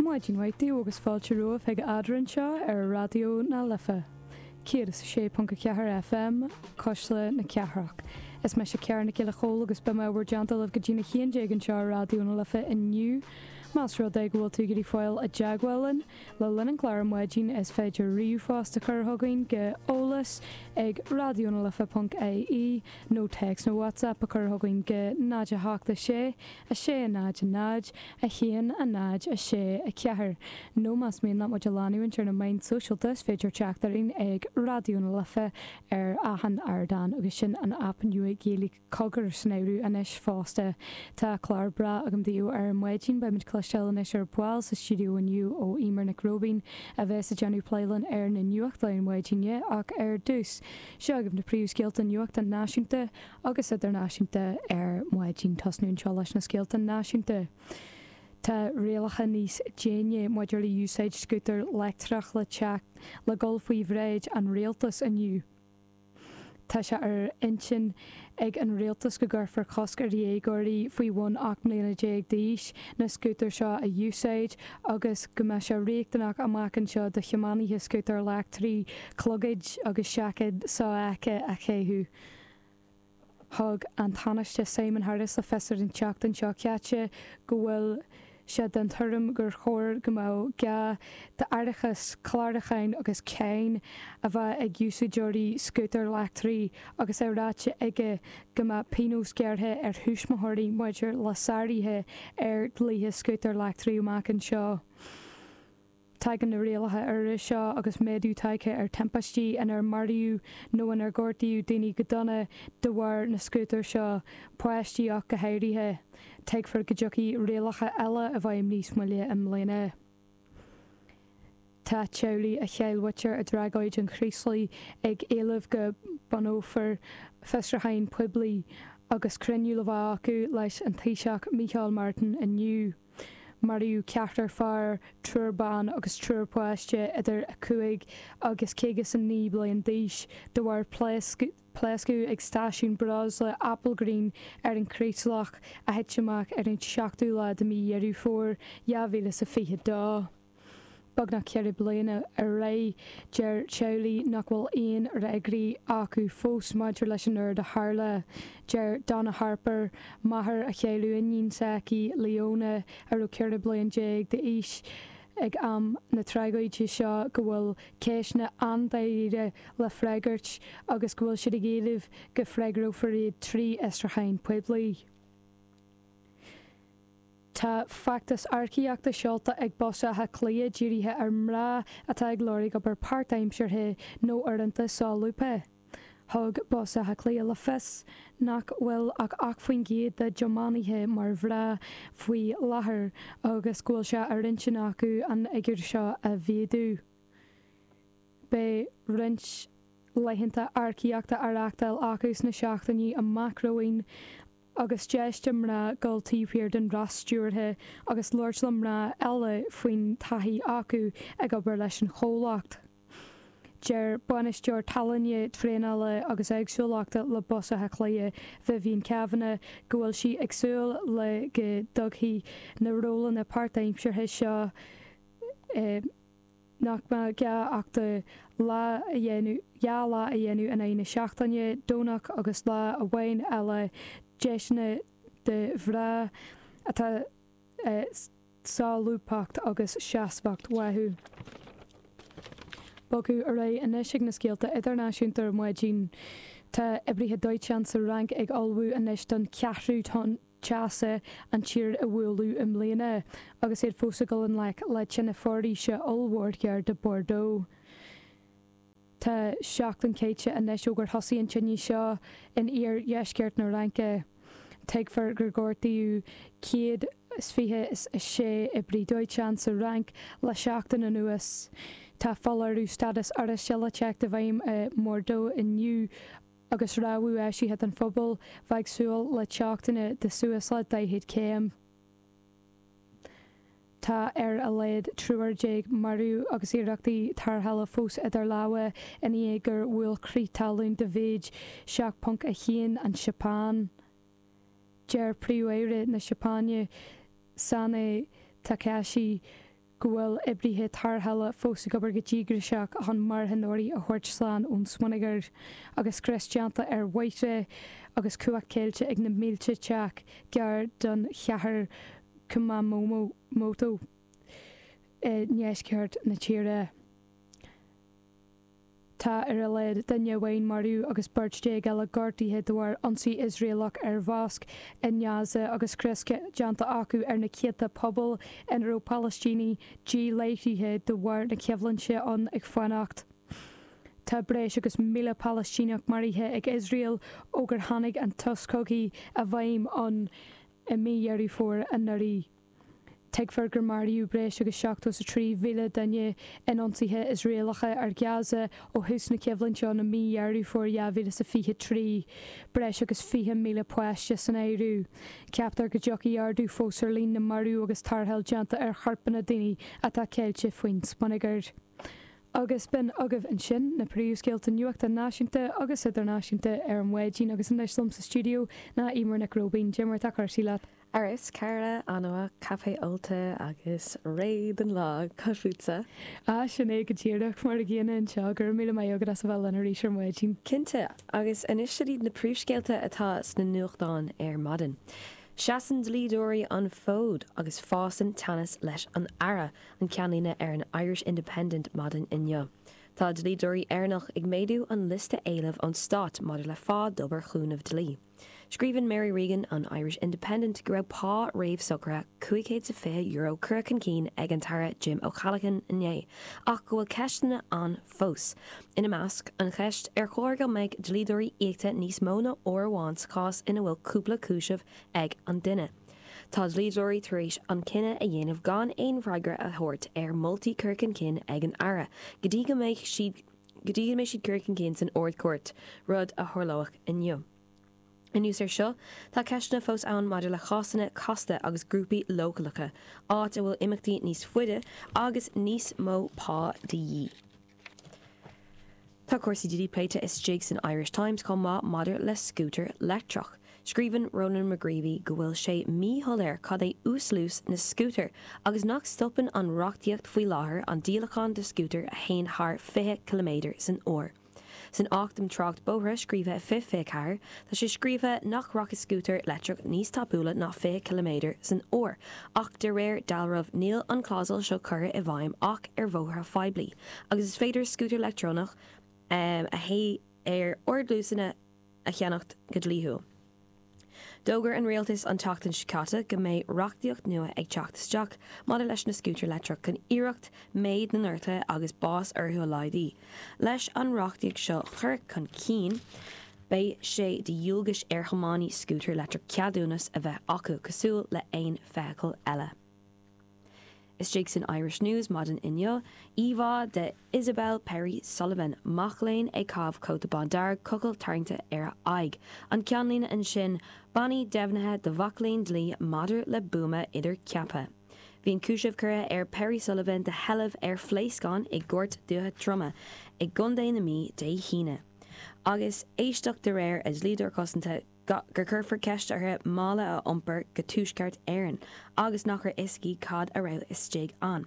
Maidin mhaith daoibh agus fáilte romhaibh chuig Eadrainn anseo ar Raidió na Life 106.4 FM, Cuisle na Cathrach. Is mise Ciara Nic Giolla Chóill agus beidh mé i bhur dteannta libh go dtína 11 anseo ar Raidió na Life inniu. Más rud é go bhfuil tú ag iarraidh fáil i dteagmháil linn le linn an chláir ar maidin is féidir ríomhphost a chur chugainn go eolas ag raidionalife.ie nó téacs nó WhatsApp a chur chugainn go 0 8 6 6 0 0 1 0 6 4 nó más mian leat muid a leanúint ar na meáin sóisialta is féidir teacht orainn ag Raidió na Life ar achan ardán agus sin an aip nua Gaeilge Cogar san áireamh anois fosta. Tá clár breá agam daoibh ar maidin. Beidh muid ag cloisteáil anois ar ball sa stiúideo inniu ó Eimear Nic Róibín a bheas ag déanamh plé linn ar na nuachtáin maidine ach ar dtús, seo agaibh na príomhscéalta nuachta náisiúnta agus idirnáisiúnta ar maidin. Tosnú anseo leis na scéalta náisiúnta. Tá rialacha níos déine maidir le úsáid scútar leictreach le teacht le dul faoi bhráid an rialtais inniu. Tá sé ar intinn ag an rialtas go gcuirfear cosc ar dhéagóirí faoi bhun 18 mbliana d'aois na scútair seo a úsáid agus go mbeadh sé riachtanach amach anseo do thiománaithe scútair leictrigh clogaid agus seaicéad sofheicthe a chaitheamh. Thug an Tánaiste Simon Harris le fios ar an tseachtain seo caite go bhfuil sé den tuairim gur chóir go mbeadh gá d'fhaireachas clárúcháin agus cáin a bheith ag úsáideoirí scútair leictrigh agus é ráite aige go mbeadh pionós gearrtha ar thuismitheoirí maidir le sáruithe ar dhlíthe scútair leictrigh amach anseo. Tagann na rialacha úra seo agus méadú tagtha ar timpistí inar maraíodh nó inar gortaíodh daoine go dona de bharr na scútar seo, páistí ach go háirithe. Tuigfear go dtiocfaidh rialacha eile i bhfeidhm níos moille i mbliana. Tá teaghlaigh a chaill muintir i dtragóid an Chraoslaigh ag éileamh go mbunófar fiosrúchán poiblí agus cruinniú le bheith acu leis an Taoiseach Micheál Martin inniu. Maraíodh ceathrar fear, triúr ban agus triúr páiste idir 5 agus 59 bliain d'aois de bharr pléascadh ag stáisiún breosla Applegreen ar an Chraoslach a thit amach ar an 7ú lá de mhí Dheireadh Fómhair 2022. Beagnach 4 bliana ar aghaidh, deir teaghlaigh nach bhfuil aon fhreagraí acu fós maidir leis an rud a tharla. Deir Donna Harper, máthair a chaill iníon s'aici, Leona, a raibh 14 bliain d'aois ag am na tragóide seo, go bhfuil ceisteanna an-dáiríre le freagairt agus go bhfuil siad ag éileamh go bhfreagrófar iad trí fhiosrúchán poiblí. Tá feachtas earcaíochta seolta ag Bus Átha Cliath dírithe ar mhná atá ag lorg obair páirtaimseartha nó uaireanta solúbtha. Thug Bus Átha Cliath le fios nach bhfuil ach 8% dá dtiománaithe mar mhná faoi láthair agus go bhfuil sé ar intinn acu an fhigiúr seo a mhéadú. Beidh roinnt laethanta earcaíochta á reáchtáil acu sna seachtainí amach romhainn. agus deis do mhná dul taobh thiar den roth stiúrtha agus labhairt le mná eile faoin taithí acu ag obair leis an chomhlacht. Deir Bainisteoir Tallainne, Traenála agus Éagsúlachta le Bus Átha Cliath, Vivian Kavanagh, go bhfuil sí ag súil le go dtugfaidh na rólanna páirtaimseartha seo i. nach mbeadh gá ach do lá a dhéanamh, 2 lá a dhéanamh in aghaidh na seachtaine, Domhnach agus lá amháin eile, deiseanna do mhná atá solúbthacht agus seasmhacht uathu. Bogadh ar aghaidh anois ag na scéalta idirnáisiúnta ar maidin. Tá oibrithe dóiteáin sa Fhrainc ag ullmhú anois don cheathrú tonn teasa an tír a bhualadh i mbliana agus iad fós ag dul i ngleic le tine foraoise ollmhór gar do Bordeaux. Tá seachtain caite anois ó gur thosaigh an tine seo in iardheisceart na Fhraince. Tuigfear gur gortaíodh 126 oibrí dóiteáin sa Fhrainc le seachtain anuas. Tá foláireamh stádas oráiste le teacht i bhfeidhm i mBordeaux inniu agus rabhadh eisithe don phobal bheith ag súil le teochtanna de suas le 40 céim. Tá ar a laghad triúr marbh agus iarrachtaí tarrthála fós idir lámha i ndiaidh gur bhuail crith talún de mhéid 7.1 an Seapáin. Deir Príomh-Aire na Seapáine, Sanae Takaichi, go bhfuil oibrithe tarrthála fós ag obair go díograiseach chun marthanóirí a thabhairt slán ón smionagar, agus scrios déanta ar bhóithre agus cumhacht caillte ag na mílte teach gar don chathair Kumamoto i ndeisceart na tíre. Tá ar a laghad duine amháin marbh agus beirt eile gortaithe de bharr ionsaí Iosraelach ar mhosc i nGaza agus scrios déanta acu ar na céadta puball ina raibh Palaistínigh díláithrithe de bharr na coimhlinte ann ag fanacht. Tá breis agus 1,000 Palaistíneach maraithe ag Iosrael ó gur tháinig an sos cogaidh i bhfeidhm ann i mí Dheireadh Fómhair anuraidh. Tuigtear gur maraíodh breis agus 73,000 duine in ionsaithe Iosraelacha ar Ghaza ó thús na coimhlinte ann i mí Dheireadh Fómhair 2023, breis agus 20,000 páiste san áireamh. Ceaptar go dtiocfaidh ardú fós ar líon na marbh agus tarrtháil déanta ar choirpeanna daoine atá ceilte faoin smionagar. Agus b'in agaibh ansin na príomhscéalta nuachta náisiúnta agus idirnáisiúnta ar an mhaidin agus anois liom sa stiúideo ná Eimear Nic Róibín. Cad é mar atá cúrsaí leat? Ar fheabhas, cara, an-mhaith, caife ólta agus réidh don lá, cad fútsa? Ah, sin é go díreach, mar a gcéanna anseo, go raibh míle maith agat as a bheith linn arís ar maidin. Cinnte, agus anois siod iad na príomhscéalta atá sna nuachtáin ar maidin. Seasann dlíodóirí an fód agus fásann teannas leis an Aire, an ceannlíne ar an Irish Independent maidin inniu. Tá dlíodóirí Éireannach ag méadú an liosta éileamh ón stát maidir le phá d'obair chúnamh dlí. Scríobhann Mary Regan ón Irish Independent go raibh pá réamhshocraithe €520 curtha chun cinn ag an tAire Jim O'Callaghan inné ach go bhfuil ceisteanna ann fós. Ina measc, an cheist ar chóir go mbeadh dlíodóirí íoctha níos mó ná uair amháin sa chás ina bhfuil cúpla cúiseamh ag an duine. Tá dlíodóirí tar éis an cinneadh a dhéanamh gan aon fhreagra a thabhairt ar mholtaí curtha chun cinn ag an Aire go dtí go mbeidh siad go dtí go mbeidh siad curtha chun cinn san Ard-Chúirt, rud a tharlóidh inniu. Anuas air seo, tá ceisteanna fós ann maidir le cásanna casta agus grúpaí leochaileacha, áit a bhfuil imeachtaí níos faide agus níos mó pá de dhíth. Tá cúrsaí dlí pléite istigh san Irish Times chomh maith maidir le scútar leictreach. Scríobhann Ronan McGreevy go bhfuil sé míshoiléir cad é uasluas na scútar agus nach stopann an reachtaíocht faoi láthair an díolachán de scútair a théann thar 20 ciliméadar san uair. San Acht um Trácht Bóithre scríofa i 2024, tá sé scríofa nach rachaidh scútar leictreach níos tapúla ná 20 ciliméadar san uair ach de réir dealraimh níl an clásal seo curtha i bhfeidhm ach ar bhóithre phoiblí agus is féidir scútar leictreonach a théann ar ardluasanna a cheannacht go dlíthiúil. D'fhógair an rialtas an tseachtain seo caite go mbeidh reachtaíocht nua ag teacht isteach maidir leis na scútair leictreach chun iarracht méid na ngortuithe agus bás orthu a laghdú. Leis an reachtaíocht seo curtha chun cinn, beidh sé de dhualgas ar thiománaí scútar leictreach ceadúnas a bheith acu cosúil le haon feithicil eile. Istigh san Irish News maidin inniu, íomhá de Isabel Perry Sullivan, mac léinn ag caitheamh cóta bándearg, cochall tarraingte ar a aghaidh. An ceannlíne ansin, Bannaí deimhnithe do mhac léinn dlí maidir le buama idir ceaptha. Bhí an cúiseamh curtha ar Perry Sullivan de sheilbh ar phléascán i gCúirt Dúiche Droma i gContae na Mí Dé hAoine. Agus éisteacht de réir a dlíodóir cosanta, gur cuirfear ceist uirthi mála a iompar go Tuaisceart Éireann agus nach raibh fhios aici cad a raibh istigh ann.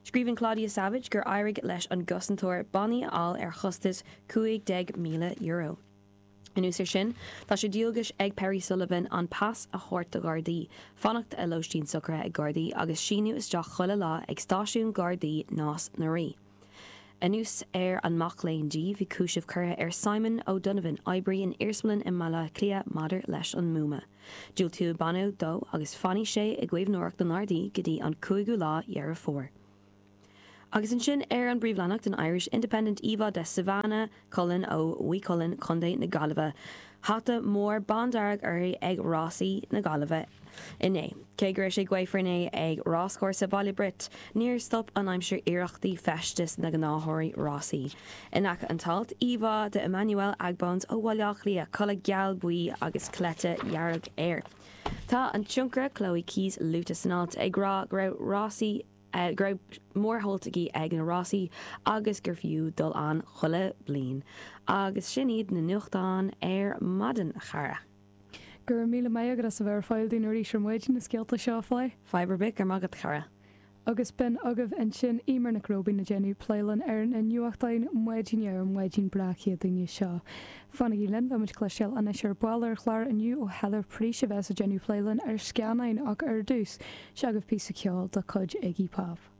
Scríobhann Claudia Savage gur éirigh leis an gcosantóir bannaí a fháil ar chostas €15,000. Anuas air sin, tá sé de dhualgas ag Perry Sullivan an pas a thabhairt do Ghardaí, fanacht i lóistín socraithe ag Gardaí agus síniú isteach chuile lá ag stáisiún Gardaí Nás na Rí. Anuas ar an mac léinn dlí, bhí cúiseamh curtha ar Simon O'Donovan, oibrí in iarsmalann i mBaile Átha Cliath, maidir leis an mbuama. Diúltaíodh banna dó agus fanfaidh sé i gcaomhnóireacht na nGardaí go dtí an cúigiú lá Dheireadh Fómhair. Agus ansin ar an bpríomhleathanach den Irish Independent íomhá de Savannah Cullen ó Mhaigh Cuilinn, Contae na Gaillimhe. Hata mór bándearg uirthi ag rásaí na Gaillimhe inné. Cé go raibh sé gaofar inné ag ráschúrsa Bhaile Brioit, níor stop an aimsir iarrachtaí feistis na gnáthóirí rásaí. In aice an t-alt, íomhá de Emmanuel Agbons ó Bhaile Átha Cliath, culaith geal buí agus cleite dhearg air. Tá an tionchaire Chloe Keyes luaite san alt, ag rá go raibh rásaí go raibh mór-shult aici ag na rásaí agus gur fiú dul ann chuile bliain. Agus sin iad na nuachtáin ar maidin, a chara. Go raibh míle maith agat as a bheith ar fáil dúinn arís ar maidin na scéalta seo a phlé. Fadhb ar bith, go raibh maith agat, a chara. Agus b'in agaibh ansin Eimear Nic Róibín ag déanamh plé linn ar na nuachtáin maidine ar an mhaidin breá Céadaoine seo. Fanaigí linn, beidh muid ag cloisteáil anois ar ball ar an chlár inniu ó Heather Preece a bheas ag déanamh plé linn ar scannáin ach ar dtús, seo agaibh píosa ceoil de chuid Iggy Pop.